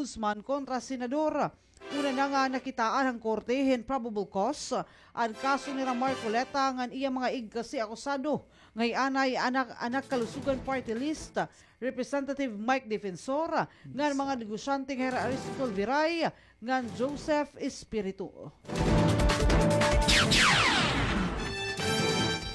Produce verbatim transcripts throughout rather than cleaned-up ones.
Guzman kontra Senador. Una na nga nakitaan han korte hin probable cause an kaso nira Marcoleta ngan iya mga igkasi-akusado nga hi anay Anak, Anak Kalusugan Party List, Representative Mike Defensor, ngan mga negosyante nga hira Aristotle Viray ngan Joseph Espiritu.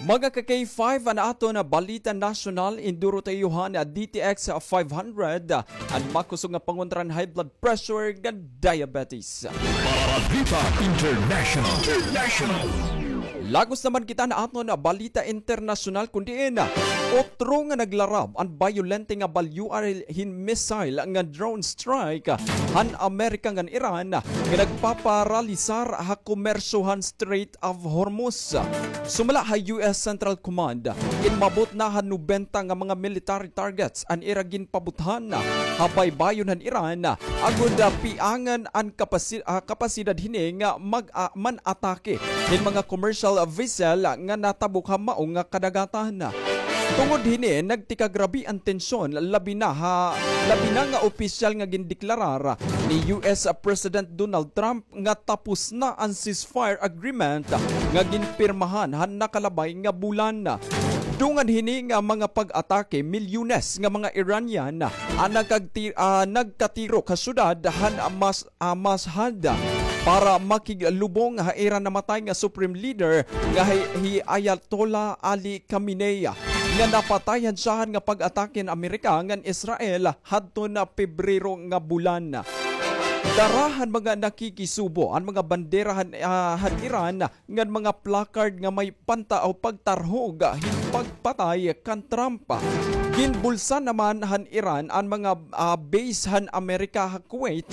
Mga ka-K five, an aton balita nasyonal, induro ta iyo han D T X five hundred, an makusog nga pangontra han high blood pressure ngan diabetes. Balita International. International. Lagos naman kita han aton balita internasyonal, kun diin utro nga naglarab an bayolente nga balyuan hin missile ngan drone strike han Amerika ngan Iran nga nagpaparalisar ha komersyo han Strait of Hormuz. Sumala ha U S Central Command, inmabot na han nobenta nga mga military targets an ira ginpabuthan ha baybayon han Iran, agod, ah, piangan an kapasi-, ah, kapasidad hini nga mag-, ah, man-atake hin mga commercial vessel nga natabok ha mao nga kadagatan. Tungod hini, nagtikagrabe an tensyon, labi na ha, labi na nga opisyal nga gindeklarar ni U S President Donald Trump nga tapos na an ceasefire agreement nga ginpirmahan han nakalabay nga bulan. Dungan hini nga mga pag-atake, milyones nga mga Iranian an nagkagti-, ah, nagkatirok ha syudad han Mas-, ah, Mashhad para makiglubong ha ira namatay nga Supreme Leader nga hi, hi Ayatollah Ali Khamenei, nga napatay han syahan nga pag-atake han Amerika ngan Israel hadton Pebrero nga bulan. Dara han mga nakikisubo an mga bandera han, ah, han Iran ngan mga placard nga may panta-, o pagtarhog hin pagpatay kan Trump. Ginbulsa naman han Iran an mga, ah, base han Amerika ha Kuwait,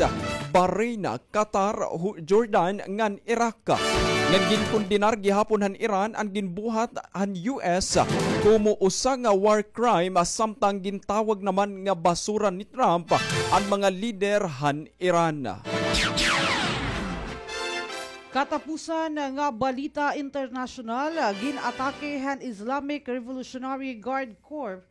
Bahrain, Qatar, Hu-, Jordan ngan Iraq. Ngan ginkondenar gihapon han Iran an ginbuhat han U S komo usa nga war crime, samtang gintawag naman nga basura ni Trump an mga lider han Iran. Katapusan nga balita internasyonal, gin-atake han Islamic Revolutionary Guard Corps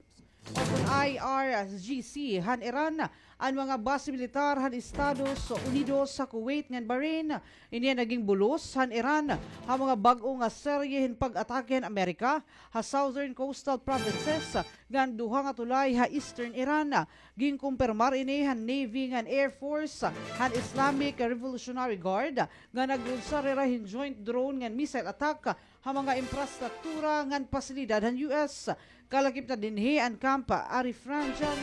o kon I R G C han Iran an mga base militar han Estados Unidos ha Kuwait ngan Bahrain. Ini an naging bulos han Iran ha mga bag-o nga serye hin pag-atake han Amerika ha southern coastal provinces ngan duha nga tulay ha eastern Iran. Ginkumpirmar ini han Navy ngan Air Force han Islamic Revolutionary Guard nga nag-unsar hira hin joint drone ngan missile attack ha mga infrastruktura ngan pasilidad han U S. Kalakip na dinhi an Camp Arifjanjan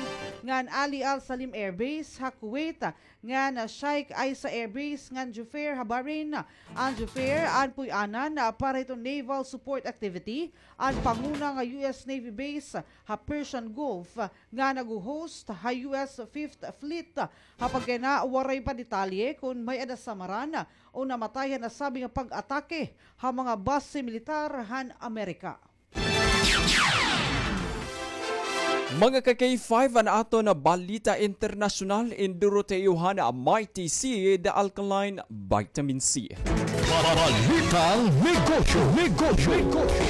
ngan Ali Al Salim Air Base ha Kuwait, ngan Sheikh Isa Air Base ngan Jubair ha Bahrain. An Jubair an puy-anan para hiton naval support activity an panguna nga U S Navy base ha Persian Gulf nga nagho-host ha U S Fifth Fleet. Ha pagkayana, waray pa detalye kon may-ada samaran o namatay han nasabi nga pag-atake ha mga base militar han Amerika. Mga ka-K five, an aton balita internasyonal, induro ta iyo han Mighty C, the alkaline vitamin C. Balitang negosyo, negosyo, negosyo.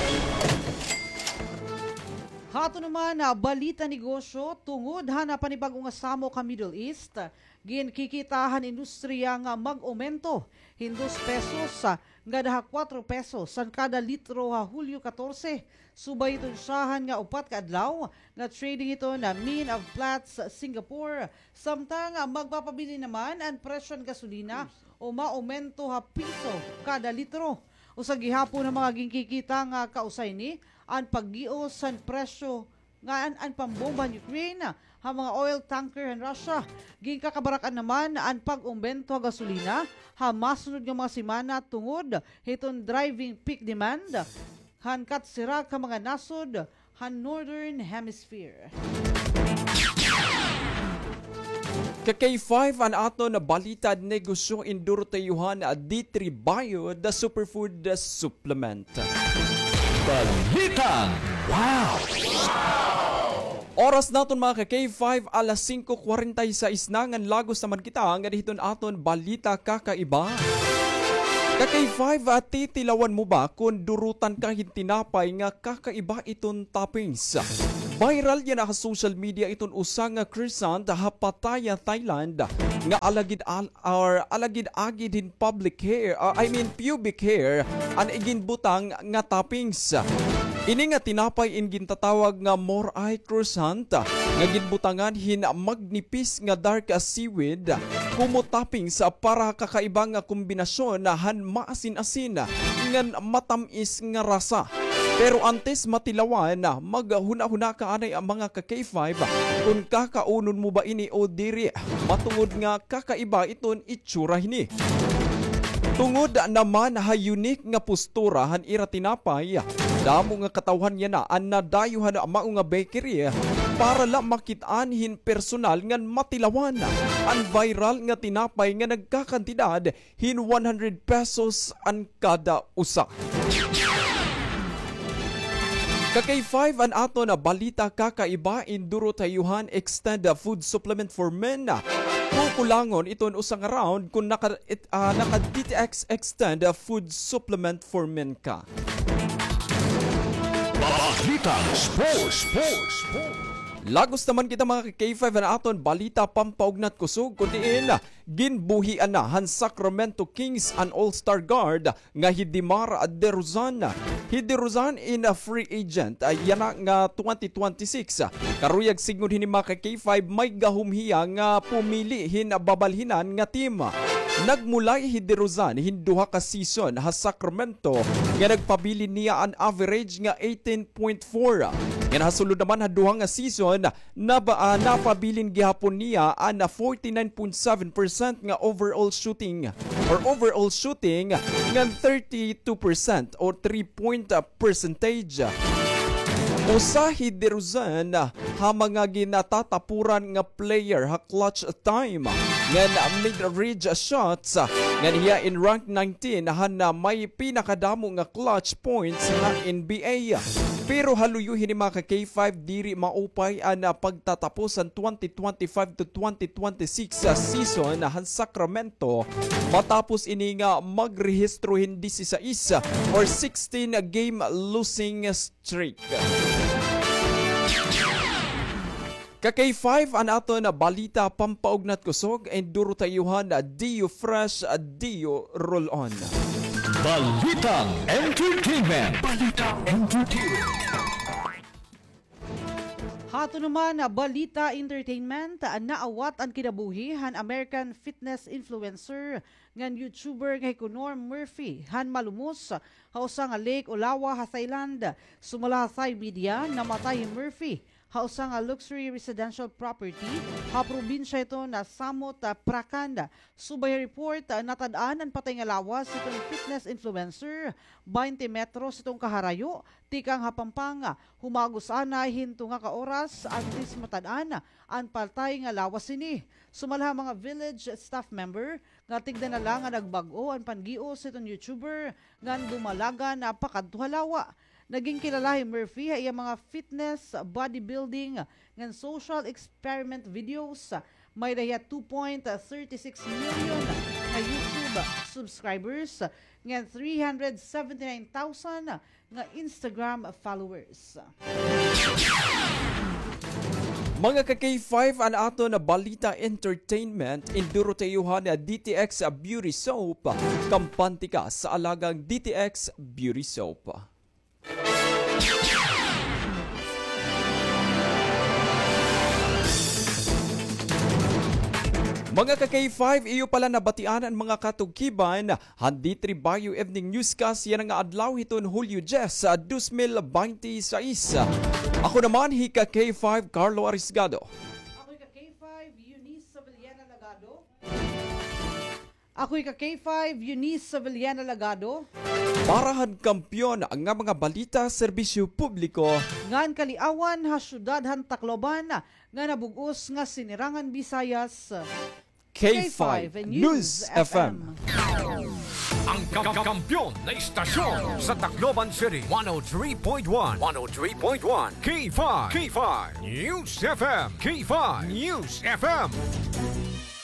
Ha aton naman, ah, balita negosyo, tungod han, ah, panibag-o nga samok ha Middle East, ginkikita han industriya nga mag-omento hin dos pesos, ah, ngada ha kuwatro pesos an kada litro ha Hulyo katorse, subay hiton syahan nga upat ka adlaw nga trading hiton, ah, Min of Platts Singapore. Samtang, ah, magpapabili naman an presyo han gasolina o maomento ha piso kada litro. Usa gihapon ha mga ginkikita nga kausay ni an paggios han presyo ngan an pambomba han Ukraine ha mga oil tanker han Russia. Ginkakabarak-an naman an pag-ombento ha gasolina ha masunod nga mga semana tungod hiton driving peak demand han katsirak ha mga nasod han Northern Hemisphere. Ka-K five, an aton balita negosyo, induro ta iyo han D three Bio, the superfood supplement. Balitang Wow! Oras naton, mga ka-K five, alas singko kwarenta y seis na, ngan lagos naman kita ngada hiton aton balita kakaiba. Ka-K five, ah, titilawan mo ba kon durutan ka hin tinapay nga kakaiba iton toppings? Viral yana ha social media iton usa nga croissant ha Pattaya, Thailand, nga alagid al-, or alagid-agid hin public hair, ah, I mean pubic hair, an iginbutang nga toppings. Ini nga tinapay in gintatawag nga morai croissant, nga ginbutangan hin magnipis nga dark seaweed, kumo toppings para kakaiba nga kombinasyon han maasin-asin ngan matam-is nga rasa. Pero antes matilawan, maghunahuna ka anay, mga ka-K five, kon kakaunon mo ba ini o diri, matungod nga kakaiba iton itsura hini. Tungod naman ha unique nga postura han ira tinapay, damo nga katawhan yana an nadayo han mao nga bakery para la makit-an hin personal ngan matilawan an viral nga tinapay nga nagkakantidad hin one hundred pesos an kada usa. Ka-K five, an aton balita kakaiba in Durotayuhan Extend Food Supplement for Men. Kukulangon iton usa nga round kon naka, it, ah, naka D T X Extend Food Supplement for Men ka. Balitang Sports. Sports. Sports. Lagos naman kita, mga ka-K five, an aton balita pampaugnat kusog, kun diin ginbuhian na han Sacramento Kings an All-Star guard nga hi DeMar DeRozan. Hi DeRozan in a free agent, ah, yana nga twenty twenty-six. Karuyag sidngon hini, mga ka-K five, may gahom hiya nga pumili hin babalhinan nga team. Nagmulay hi DeRozan hin duha ka season ha Sacramento nga nagpabilin niya an average nga eighteen point four. Ngan ha sulod naman ha duha nga season, naba-, ah, napabilin gihapon niya an forty-nine point seven percent nga overall shooting or overall shooting ngan thirty-two percent or three point, ah, percentage. Usa hi DeRozan ha mga ginatatapuran nga player ha clutch time ngan mid-range shots, ngan hiya in rank nineteen han may pinakadamo nga clutch points ha N B A. Pero ha luyo hini, mga ka-K five, diri maupay an, ah, pagtatapos han twenty twenty-five to twenty twenty-six, ah, season han Sacramento matapos ini nga magrehistro hin disisais or sixteen game losing streak. Ka-K five, an aton balita pampaugnat kusog, and duro ta iyo han Dio Fresh, Dio Roll On. Balitang Entertainment. Balitang Entertainment. Hato naman, balita entertainment, naawat an kinabuhi han American fitness influencer ngan YouTuber nga hi Conor Murphy han malumos ha usa nga lake o lawa ha Thailand. Sumala ha Thai media, namatay hi Murphy ha usa nga luxury residential property ha probinsya hiton Samut Prakan. Subay ha report, natad-an an patay nga lawas hiton fitness influencer, baynte metros hiton kaharayo, tikang ha Pampanga. Humagos anay hin tunga ka oras antes matad-an an patay nga lawas hini. Sumala ha mga village staff member nga tigda na la nga nagbag-o an pangios hiton YouTuber ngan dumalagan pakadto ha lawa. Naging kilala hi Murphy ha iya mga fitness, bodybuilding, ngan social experiment videos. May-ada hiya two point thirty six million nga YouTube subscribers ngan three hundred seventy nine thousand nga Instagram followers. Mga ka-K five, an aton balita entertainment, induro ta iyo han D T X Beauty Soap. Kampante ka sa alagang D T X Beauty Soap. Mga ka-K five, iyo pa la nabatian an mga katukiban han D three Baguio Evening Newscast yana nga adlaw hiton Hulyo dyes, dos mil baynte sais. Ako naman hi ka-K five Carlo Arisgado. Ako hi ka-K five Eunice Savillana Lagado. Ako hi ka-K five Eunice Savillana Lagado. Para han kampiyon nga mga balita, serbisyo publiko ngan kaliawan ha syudad han Tacloban ngan ha bug-os nga Sinirangan Visayas. K five News F M. Ang ka-, kampiyon na istasyon sa Tacloban City, one oh three point one, one oh three point one, K five, K five News F M, K five News F M.